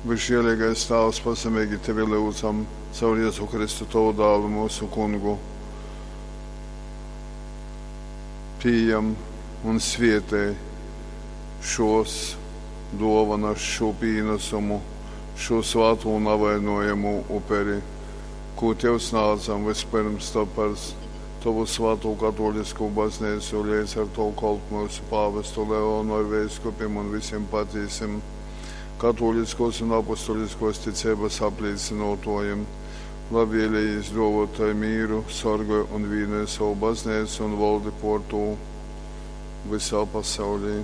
Visžiēlīgais Tāvs, pazemīgi Tevi lyudzam, caur Jēzu Kristu, Tavu dālu, mūsu kungu. Pījam un svietē šos dovanas, šo pīnesumu, šo svāto un avainojamo uperi, ko Tev snādzam vispirms to par Tavu svāto katolisko baznīcu, līdz ar to kolpu mūsu pāvestu Leonu ar veiskupiem un visiem patīsim katoliskos un apustuliskos ticības apliecinotojiem. Labvēlīgi izdāvotai mīru, sargāj un vīnoj savu baznīcu un valdi por to visā pasaulī.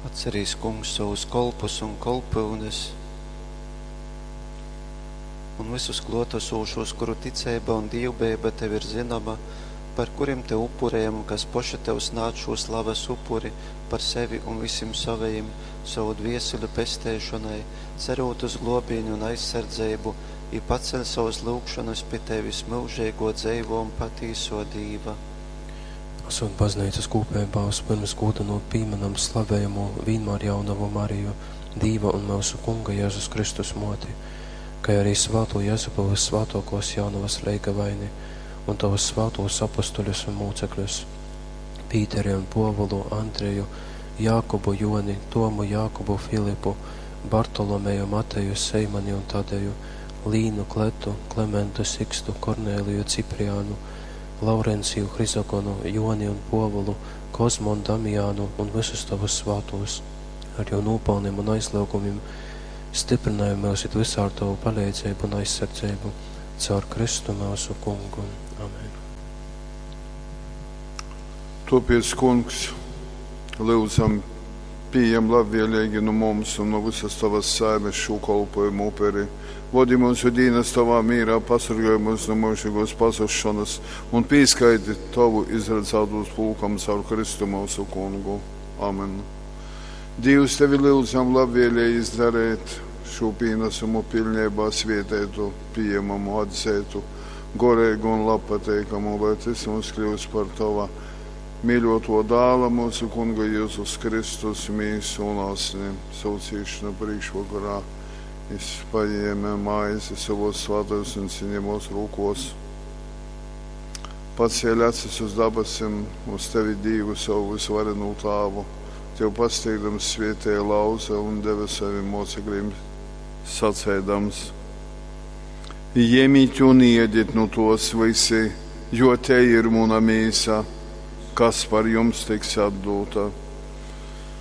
Atcerīs, kungs, savus kolpus un kolpyunes un visus klotesošos, kuru ticība un dievbijība tev ir zināma, par kuriem te upurējam, kas poši tev snāc šo slavas upuri par sevi un visiem savējiem, savu dvieseli pestēšanai, cerot uz globīņu un aizsardzību, i paceļ savas lūgšanas pie tevis mūžīgo dzeivo un patīso Dīva. Esot baznīcas kūpībā, vispirms gūdanot pīmenam slavējamo vienmēr jaunavu Mariju, Dīva un mūsu Kunga Jēzus Kristus moti, kā arī svāto Jēzupu vissvātokos jaunavas leigavaini un tavus svātos apustuļus un mūcekļus, Pīteri un Povulu, Andreju, Jākubu, Joni, Tomu, Jākubu, Filipu, Bartolomeju, Mateju, Seimani un Tadeju, Līnu, Kletu, Klementu, Sikstu, Kornēliju, Cipriānu, Laurenciju, Hrizogonu, Joni un Povulu, Kozmu un Damiānu un visus tavus svātos, ar jo nopelniem un aizliegumiem stiprināja mūs it visā ar tavu palīdzību un aizsardzību, caur Kristu mūsu kungu. Amen. Topiec, kungs, lūdzam, pieejam labvēlīgi no mums un no visas tavas saimes šo kolpojumu uperi. Vodi mūsu dienas tavā mīrā, pasargāj mūs no mūžīgos pazušanas un pīskaiti tavu izredzētos pulkam caur Kristu mūsu kungu. Amen. Dievs tevi lūdzam labvēlīgi izdarīt šo pienesumu pilnībā svietētu, pieejamamu, atzētu, gorēgu un labpateikamu, lai tas mums kļūst par tava mīļoto dāla mūsu kunga Jēzus Kristus mīsu un asni saucīšanu priekšvakarā. Jis paņēma maizi savos svētos un cienījamos rūkos, pacēla acis uz dabasim, uz tevi Dievu savu visvarenū tāvu, tev pasteigdams svietēja lauza un deva saviem mocekļiem sacēdams. Ņemiet un iediet no tos visi, jo te ir muna mīsa, kas par jums tiks atdota.